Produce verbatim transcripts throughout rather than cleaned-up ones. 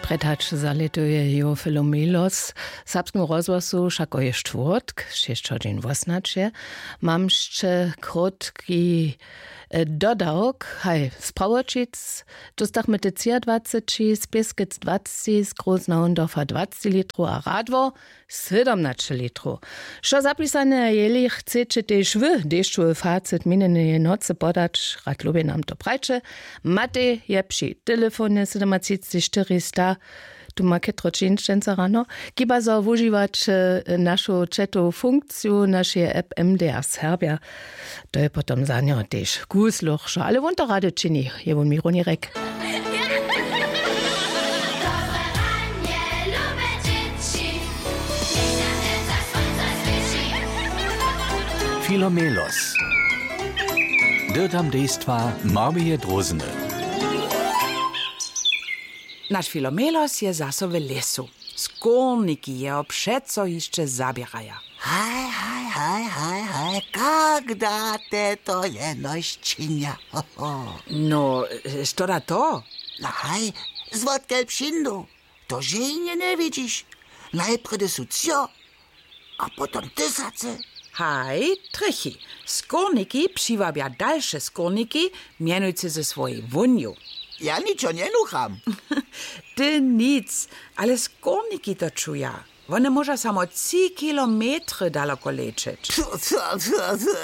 Prjed hač zalětuje jo Filomelos w Serbskim rozhłosu wšako je štwórtk, šěsć hodźin wosnaće. Mam sće krótki dodawk, haj, z Prawoćic dóstachmy te třiadwaceći, z Pěskec dwaceći, z Groznahondorfa dwaceći litrow a Radwor sydomnaće litrow. Što zapisane a jeli chceće tež wy dešćowy facit minjeneje nocy podać, rad lubje nam to prajće. Matej je při telefonje sydomatřicci štyri sta, tu ma chytro čińšćenca rano, kiba zo wužiwać našu četowu funkciju našeje app M D R Serbja. To je potom za njo tež kusluch, ale wón to rady čini, je wón mi runje rjek. Filomelos. Dyrtam dejstwa Marmije Drózny. Naš Filomelos je zaso w lěsu. Skórniki jeho přeco hišće zaběraja. Haj, haj, haj, haj, haj, kak da te to jenož činja? Ho, ho. No, što da to? No haj, zwotkel přińdu? To ženje njewidźiš. Najprjedy su třo, a potom tysacy. Haj, trjechi. Skórniki přiwabja dalše skórniki, mjenujcy ze swojej wónju. Ja ničo njenucham. Ty nic, ale skórniki to čuja. Wone móža samo tři kilometry daloko lećeć.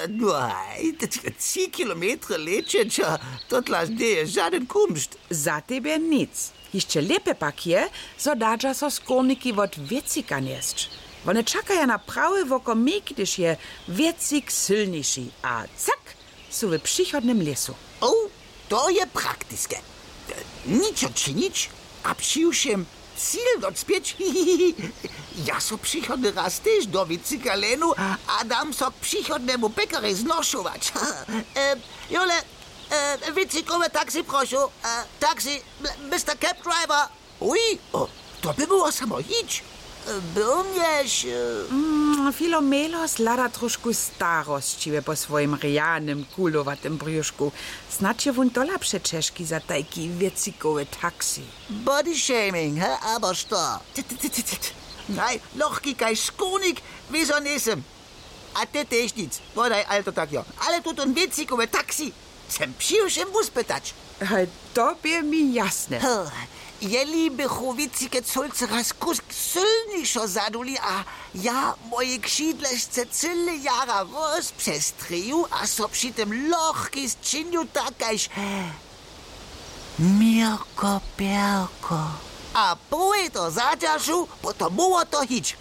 No haj, tři kilometry lećeć, a to tlaž njeje žadyn kumšt. Za tebje nic. Hišće lěpje pak je, zo dadźa so skórniki wot wěcika njesć. Wone čakaja na prawy wokomik, hdyž je wěcik sylniši, a cak, su w přichodnym lěsu. O, to je praktiske. Ničo činić, a přiwšěm cil docpěć. Ja so přichodny raz tež do wěcika lenu a dam so k přichodnemu pekarej znošować. E, jole, e, wěcikowe taxi, prošu. E, taxi, mister Cab Driver. Uj, o, to by było samo hić. E, byrnješ, e. Mm, Filomelos hlada trošku starosćiwje po swojim rjanym kulowatym brjušku. Snadź je wón tola přećežki za tajki wěcikowy taxi. Body shaming, he, abo što? Ty, ty, ty, ty, ty. Haj, lochki kaž škórnik, wězo njejsym. A ty tež nic, wodaj, ale to tak jo. Ale tutón wěcikowy taxi, chcem přiwšěm wuspytać. Haj, to bě mi jasne. Hm, jeli bychu wěcike cólcy raz kusk sylnišo zaduli a ja moje křidlešce cyle jara rozpřestrěju a so při tym lochki sčinju tak kaž Měrko pjerko. A połej to zadźeršu, potom móhło to hić.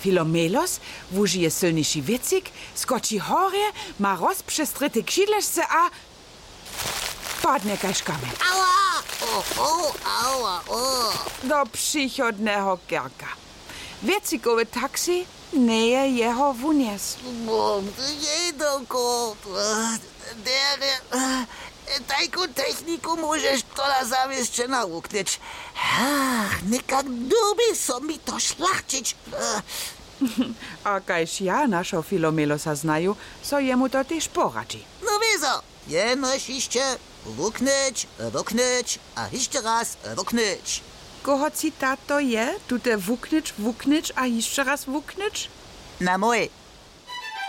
Filomelos wužije sylniši wěcik, skoči horje, ma rozpřestrěte křidlešce a padnje kaž kamjeń. Aua! O, o, aua, o. Do přichodneho kerka. Wěcikowy taxi njeje jeho wunjes. Jej to kort. Derje, tajku techniku móžeš tola zawěsće nawuknyć. Ach, někak dyrbi so mi to šlachćić. A kaž ja našeho Filomelosa znaju, so jemu to tež poradźi. No wězo, jenož hišće wuknyć, wuknyć a hišće raz wuknyć. Koho citat to je, tute wuknyć, wuknyć a hišće raz wuknyć? Na mój.